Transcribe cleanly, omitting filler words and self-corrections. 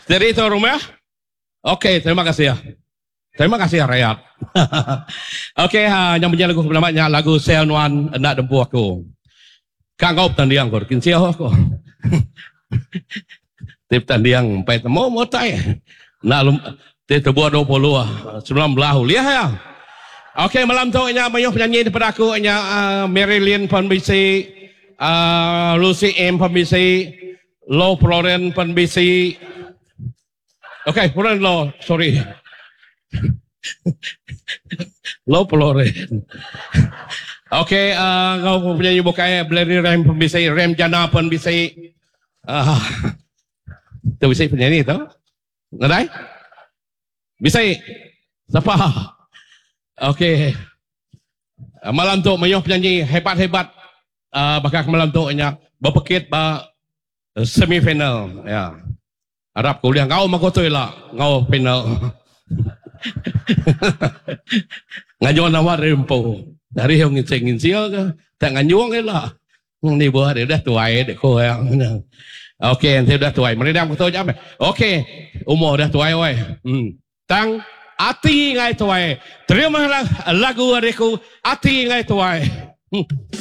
Steady tu rumah. Okey, terima kasih. Terima kasih rayat. Okey, ha, yang punya lagu nama nya lagu Sel Nuan Enda Dempu Aku. Ka enggau betanding ko, kinsil aku. Ti betanding empai temu mutai. Enda lum ti tubuh 20 19 ulih iya. Okey malam tu nya mayuh penyanyi daripada aku nya uh, Marilyn pun bisi, uh, Lucy M pun bisi, Low Floren pun bisi. Okey, Floren Low, sorry. Low Floren. Okey, uh, ngau penyanyi bukai Blary Ram pun bisi, Ram Jana pun bisi. Uh, tu bisi penyanyi tu. Nadai? Bisi. Siapa? Okey. Uh, malam tu mayuh penyanyi hebat-hebat uh, baka malam tu nya bepekit ba semi final ya. Arap ke ulih enggau meh ku tu ila enggau final. Ngajung nama diri empu. Dari yang nginsil-nginsil ke tak nganjung ila. Ni buah dia udah tuai dek ko yang. Okey enti udah tuai merindang ku tu aja meh. Okey umur udah tuai wai. Hmm. Tang ati ngai tuai. Terima lagu ari aku ati ngai tuai. Hmm.